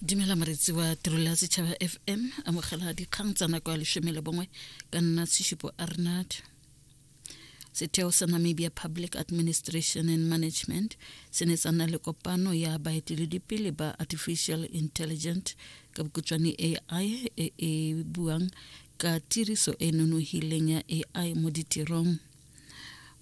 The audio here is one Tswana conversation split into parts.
Dumela moretsi wa tirelo ya setšhaba FM, amogela dikgang tsa nako ya leshome le bongwe ka nna Tshishupo Arnard. Setheo sa Namibia Public Administration and Management se ne sa nna le kopano ya baeteledipele ba Artificial Intelligent ka bokhutshwane AI e e buang ka tiriso e nonogileng ya AI mo ditirong.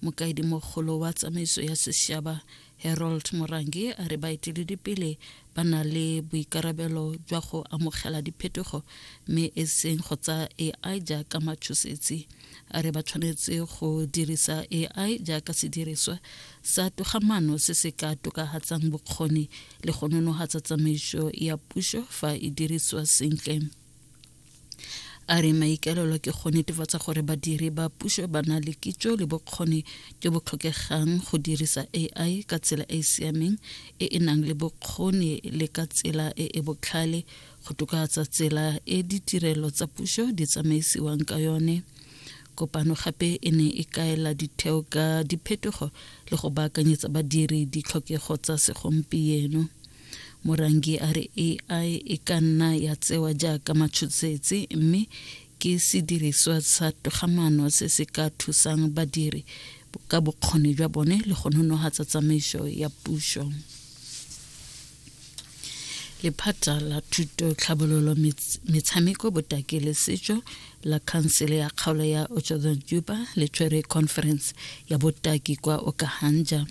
Mokaedimogolo wa tsamaiso ya sešaba Harold Morangi a re baeteledipele ba na le boikarabelo jwa go amogela diphetogo mme e seng go tsaya AI jaaka matshosetsi. A re ba tshwanetse go dirisa AI jaaka sediriswa sa togamaano se se ka tokafatsang bokgoni le go nonohatsa tsamaiso ya puso fa e dirisiwa sentle. A re maikaelelo ke go netefatsa gore badiri ba puso ba na le kitso le bokgoni jo bo tlhokegang go dirisa AI ka tsela e e siameng e e nang le bokgoni le ka tsela e e botlhale go tokafatsa tsela e ditirelo tsa puso di tsamaisiwang ka yone. Kopano gape e ne e kaela ditheo ka diphetogo le go baakanyetsa badiri ditlhokego tsa segompieno. Morangi a re AI e ka nna ya tsewa jaaka matshosetsi mme ke sediriswa sa togamaano se se ka thusang badiri ka bokgoni jwa bone le go nonohatsa tsamaiso ya puso. Lephata la Thuto, Tlhabololo, Metshameko, Botaki le Setso la Khansele ya Kgaolo ya Otjozondjupa le tshwere conference ya botaki kwa Okahandja.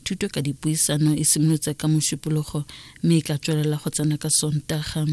Thuto ka dipuisano e simolotse ka Mošupologo mme e tla tswelela go tsena ka Sontaga.